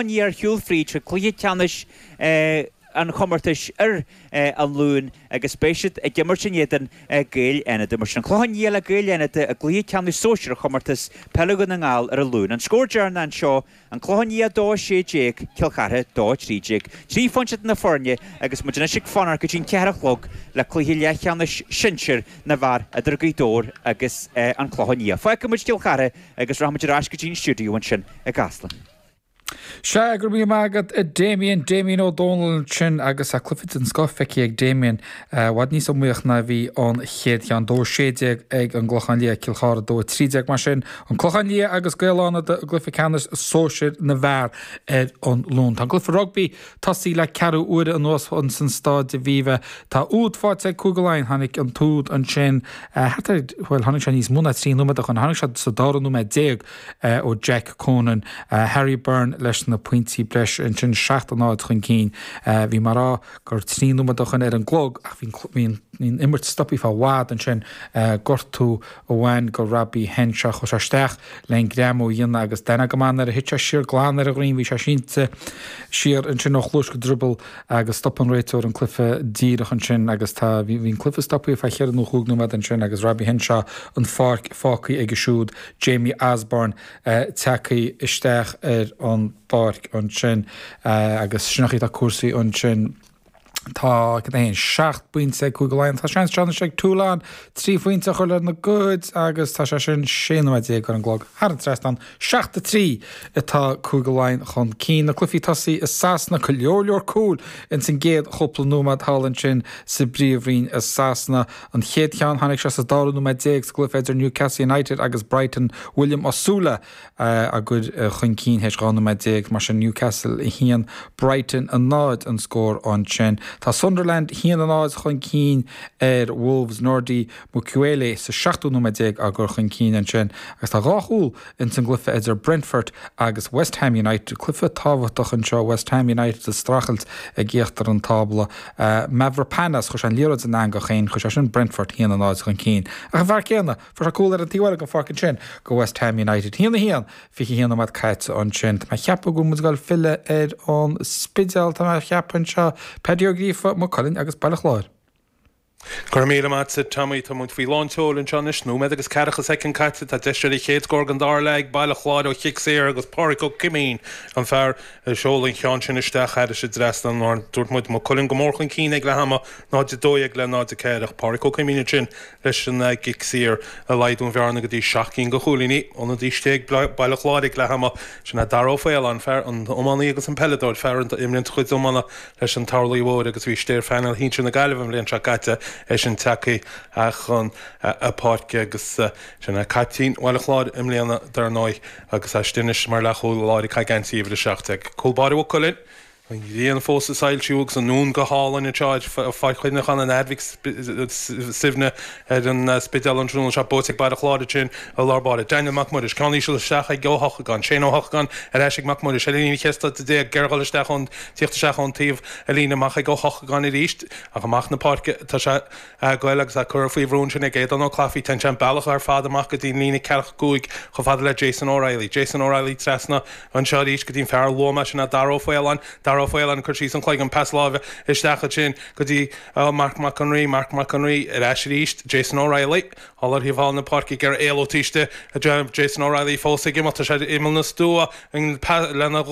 Liath ar shiúl fríd chuig cluiche ceannais an chomórtais ar an Luan agus beidh siad ag imirt in éadan Gaeil Fhánada. Mar sin, an Clochán Liath le Gaeil Fhánada i gcluiche ceannais sóisir chomórtas peile Dhún na nGall ar an Luan. An scór deireanach anseo, An Clochán Liath 2, 16, Cill Chartha 2, 13. 3 phointe idir na foirne agus muid anois ag fanacht go dtí an 4 a chlog le cluiche leathcheannais sinsir na bhfear idir Gaoth Dobhair agus An Clochán Liath. Fágfaidh muid Cill Chartha agus rachaidh muid ar ais go dtí an stiúideo ansin i gCasla. Sea, go raibh míle maith agat a Damien, Damien Ó Dónaill ansin agus tá cluiche den scoth feicthe ag Damien, i bhfad níos iomaíoch ná a bhí an chéad cheann. 2 16 ag an gClochán Liath, Cill Chartha 2 13. Mar sin, an Clochán Liath agus Gaeil Fhánada i gcluiche ceannais sóisir na bhfear ar an Luan. Tá an cluiche rugbaí tosaithe le ceathrú uaire anuas ins an Staid Aviva. Tá úd faighte ag Cúige Laighean. Tháinig an t-úd ansin thart ar, bhuel, tháinig sé níos mó ná 3 nóiméad ó shin, tháinig sé sa dara nóiméad déag. ó Jack Conan. Harry Byrne leis na pointí breise ansin, 7-0 chun cinn. Bhí mé ag rá gur 3 nóiméad ó shin ar an gclog ach bhí an imirt stoptha fá bhfad ansin. Gortú a bhain go Robbie Henshaw. Chuaigh sé isteach le an greamú a dhéanamh agus d'aithneofá go maith nuair a thit sé siar glan ar a dhroim. Bhí sé sínte siar ansin ó chluais go drioball agus stop an réiteoir an cluiche díreach ansin agus tá, bhí an cluiche stoptha fá cheithre nó chúig nóiméad ansin agus Robbie Henshaw an pháirc fágtha aige siúd, Jamie Osborne tagtha isteach ar an bpáirc ansin agus sin an chaoi atá cúrsaí ansin. Tá, cad é, 7 bpointe ag Cúige Laighean. Tá seans anois ag Toulon 3 phointe a chur lena gcuid agus tá sé sin 16 nóiméad ar an gclog thar an trasnán. 7-3 atá Cúige Laighean chun cinn. Na cluichí tosaithe i Sasana, go leor leor cúil ins an gcéad chúpla nóiméad thall ansin sa bPríomhroinn i Sasana. An chéad cheann, tháinig sé sa dara nóiméad déag sa gcluiche idir Newcastle United agus Brighton, William Osula á gcur chun cinn théis 12 nóiméad. Mar sin Newcastle 1, Brighton 0 an scór ansin. Tá Sunderland 1-0 chun cinn ar Wolves, Nordi Mukiele sa seachtú nóiméad déag á gcur chun cinn ansin agus tá dhá chúl ins an gcluiche idir Brentford agus West Ham United. Cluiche tábhachtach anseo, West Ham United ag streachailt ag íochtar an tábla. Mavropanos, chuir sé an liathróid san eangach féin, chuir sé sin Brentford 1-0 chun cinn. Ach an fear céanna, fuair sé cúl ar an taobh eile den pháirc ansin go West Ham United. 1-1, 21 nóiméad caite ansin. Tá mé ag ceapadh go bhfuil muid ag dul filleadh ar an Spidéal, tá mé ag ceapadh anseo. Paddy Ó Gríofa, Maigh Cuilinn agus Baile Chláir. Go raibh míle maith agat, Tommy. Tá muid faoi lán tseoil anseo anois. Nóiméad agus ceathracha soicind caite. Tá deis ar an chéad scór den dara leath ag Baile Chláir ó chic saor agus Pádraic Ó Coimín an fear a sheol an cheann sin isteach thairis an dtrasnán. Mar a dúirt muid, Maigh Cuilinn go mór chun cinn ag leath ama, 0-12 le 0-4 ach Pádraic Ó Coimín ansin leis an gcic saor ag laghdú an bhearna go dtí seacht gcinn de chúilíní. Ionadaí istigh ag Baile Chláir ag leath ama. Sin é Dara Ó Faoláin, fear an iománaí agus an peileadóir, fear a imríonn chuid iomána leis an Turlaigh Mhóir agus bhí istigh ar phainéal shinsir na Gaillimhe an bhliain seo caite, eisean tagtha chun na páirce agus sin é caiptín Bhaile Chláir i mbliana dar ndóigh agus é istigh anois mar leathchúl láir ag caitheamh geansaí uimhir 17. Cúl báire Mhaigh Cuilinn, an ghrian fós ag soilsiú agus an dún go hálainn anseo ar Pháirc Chuimhneacháin an Athar Mhic Suibhne ar an Spidéal an tráthnóna seo buaite ag Baile Chláir ansin i lár báire. Daniel Mac Muiris, ceann íseal isteach ag Ó hEochagáin, Shane Ó hEochagáin ar ais ag Mac Muiris ar an líne 14 troda ag iarraidh dhul isteach ón tíocht isteach ón taobh ar líne amach ag Ó hEochagáin arís ach amach na páirce tá sé ag goil agus é curtha faoi bhrú ansin ag Aodán Ó Clafaí. Téann sé an bealach ar fad amach go dtí an líne ceathracha cúig chomh fada le Jason O'Reilly. Jason O'Reilly trasna anseo arís go dtí an fear a luaigh mé sin é Dara Ó Faoláin. Dara Ó Faoláin ag cur síos an chloigeann pas láimhe isteach ansin go dtí Marc Mac an Rí. Marc Mac an Rí ar ais arís. Jason O'Reilly thall ar thaobh thall na páirce ag iarraidh éalú taobh istigh. Jason O'Reilly fós ag imeacht. Tá sé ar imeall na stua lena.